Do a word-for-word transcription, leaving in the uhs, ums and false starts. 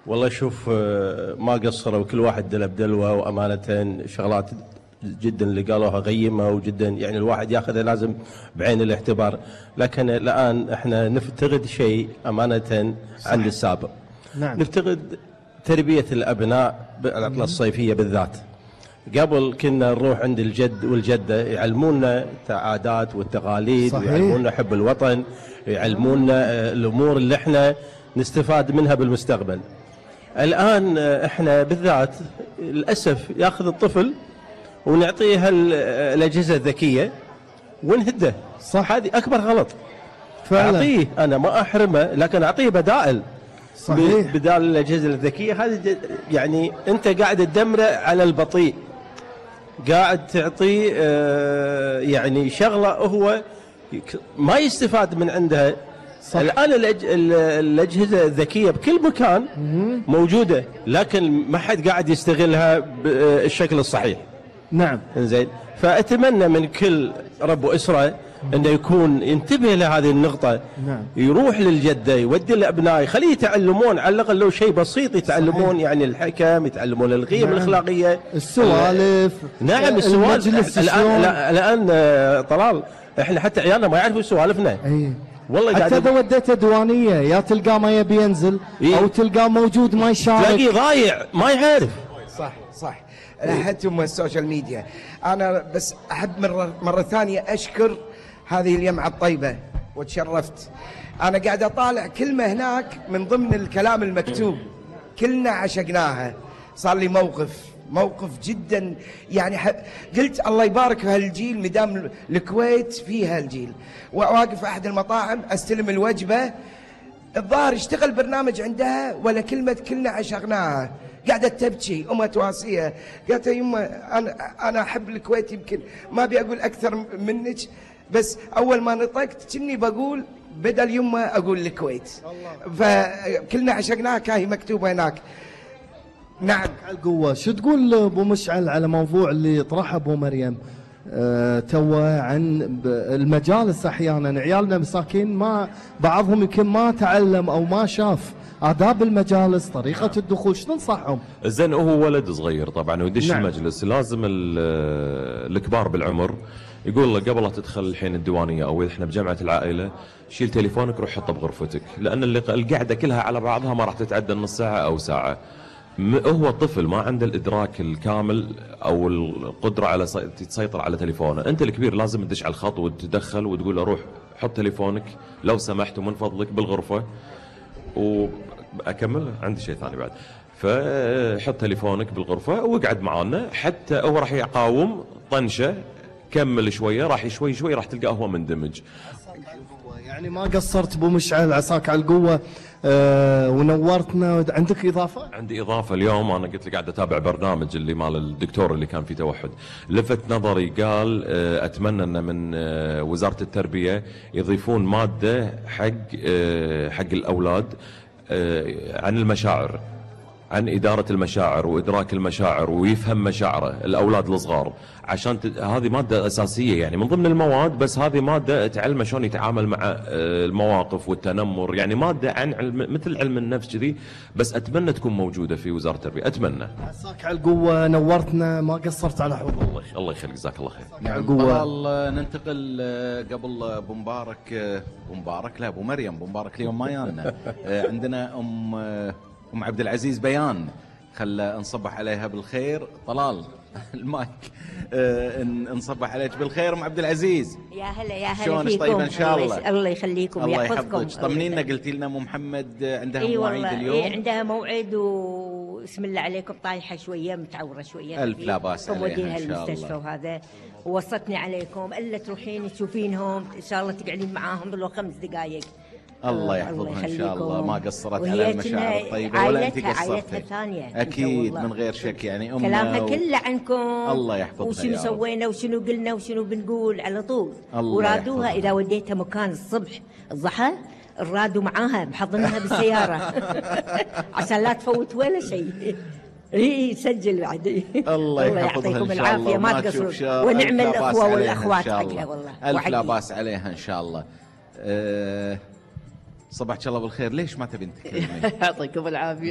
والله شوف، ما قصروا، كل واحد دله بدلوه، وأمانة شغلات جدا اللي قالوها غيمة وجدا يعني الواحد ياخذها لازم بعين الاعتبار. لكن الآن احنا نفتقد شيء أمانة عند السابق. نعم. نفتقد تربية الأبناء بالعطلة الصيفية بالذات. قبل كنا نروح عند الجد والجدة يعلمونا العادات والتقاليد، صحيح. ويعلمونا حب الوطن، يعلمونا الأمور اللي احنا نستفاد منها بالمستقبل. الآن احنا بالذات للأسف ياخذ الطفل ونعطيه الأجهزة الذكية ونهده. صح. هذه أكبر غلط. فعلا. أعطيه، أنا ما أحرمه، لكن أعطيه بدائل. صحيح. بدال الأجهزة الذكية هذه، يعني أنت قاعد تدمره على البطيء، قاعد تعطيه اه يعني شغلة هو ما يستفاد من عندها. صح. الآن الأج... الأجهزة الذكية بكل مكان موجودة، لكن ما حد قاعد يستغلها بالشكل الصحيح. نعم. إنزين، فأتمنى من كل رب أسرة أنه يكون ينتبه لهذه النقطة. نعم. يروح للجدة، يودي الأبناء، يخليه يتعلمون على الأقل لو شيء بسيط يتعلمون. صحيح. يعني الحكم، يتعلمون القيم. نعم. الأخلاقية، السوالف. نعم السوالف. الآن الآن طلال احنا حتى عيالنا ما يعرفوا سوالفنا. أي. والله حتى اذا وديته دوانيه يا تلقاه ما يبي ينزل. إيه؟ او تلقاه موجود ما يشارك، تلاقيه ضايع ما يعرف. صح صح. حتى السوشيال ميديا. انا بس احب مره مره ثانيه اشكر هذه الجمعه الطيبه وتشرفت. انا قاعد اطالع كلمه هناك من ضمن الكلام المكتوب، كلنا عشقناها. صار لي موقف موقف جدا يعني قلت الله يبارك في هالجيل، مدام الكويت فيها الجيل. واقف في احد المطاعم استلم الوجبه، الظاهر يشتغل برنامج عندها ولا كلمه كلنا عشقناها، قاعده تبكي امها تواسيها. قالت يا يمه انا انا احب الكويت، يمكن ما ابي اقول اكثر منك، بس اول ما نطقت كني بقول بدل يمه اقول الكويت. فكلنا عشقناها كاهي مكتوبه هناك. نعم. القوة. شو تقول ابو مشعل على موضوع اللي طرحه ابو مريم أه توه عن المجالس؟ احيانا عيالنا مساكين ما بعضهم يمكن ما تعلم او ما شاف آداب المجالس، طريقة الدخول، شو تنصحهم؟ زين هو ولد صغير طبعا ويدش. نعم. المجلس لازم الكبار بالعمر يقول له قبل لا تدخل الحين الديوانية او احنا بجمعة العائلة شيل تليفونك روح حطه بغرفتك، لان القعدة كلها على بعضها ما راح تتعدى نص ساعة او ساعة. هو الطفل ما عنده الإدراك الكامل أو القدرة على تسيطر على تليفونه. أنت الكبير لازم تدش على الخط وتدخل وتقول له روح حط تليفونك لو سمحت ومن فضلك بالغرفة. وأكمل عندي شيء ثاني بعد. فحط تليفونك بالغرفة واقعد معانا، حتى هو راح يقاوم طنشة، كمل شوية راح شوي شوي راح تلقاه هو مندمج. يعني ما قصرت ابو مشعل، عساك على القوة. أه ونورتنا. عندك إضافة؟ عندي إضافة. اليوم أنا قلت لك قاعد أتابع برنامج اللي مال الدكتور اللي كان فيه توحد، لفت نظري قال أه أتمنى أن من أه وزارة التربية يضيفون مادة حق أه حق الأولاد أه عن المشاعر، عن إدارة المشاعر وإدراك المشاعر ويفهم مشاعره الأولاد الصغار، عشان ت... هذه مادة أساسية يعني من ضمن المواد، بس هذه مادة تعلمه شلون يتعامل مع المواقف والتنمر، يعني مادة عن علم مثل علم النفس كذي. بس أتمنى تكون موجودة في وزارة التربية، أتمنى. عساك على القوة، نورتنا، ما قصرت على حضور. الله الله يخليك، جزاك الله خير. على القوة. ننتقل قبل أبو مبارك أبو مبارك لا أبو مريم أبو مبارك اليوم ما يانا. عندنا أم أم عبد العزيز بيان، خلى نصبح عليها بالخير. طلال المايك. أه نصبح عليك بالخير ام عبد العزيز. يا هلا يا هلا شلونك؟ طيبه ان شاء الله. الله يخليكم ويحفظكم. طمنينا، قلتي لنا ام محمد عندها إيه مواعيد اليوم. اي عندها موعد واسم الله عليكم طايحه شويه متعوره شويه. الف لا باس عليها ان شاء الله. المستشفى وهذا ووصتني عليكم الا تروحين تشوفين,هم ان شاء الله تقعدين معاهم لو خمس دقائق. الله يحفظها ان شاء الله. ما قصرت على المشاعر الطيبه ولا انت قصرتي. اكيد من غير شك يعني امنا كلامها و... كله عنكم. الله يحفظها. وشنو سوينا وشنو قلنا وشنو بنقول على طول. ورادوها اذا وديتها مكان الصبح الضحى الرادوا معاها محضنها بالسياره عشان لا تفوت ولا شيء. اي سجل بعد. الله يحفظها ان شاء الله. ما تقصروا ونعم الاخوه والاخوات حقها والله. الف لا باس عليها ان شاء الله. أه صباحك الله بالخير. ليش ما تبين تكلمين؟ يعطيكم العافيه.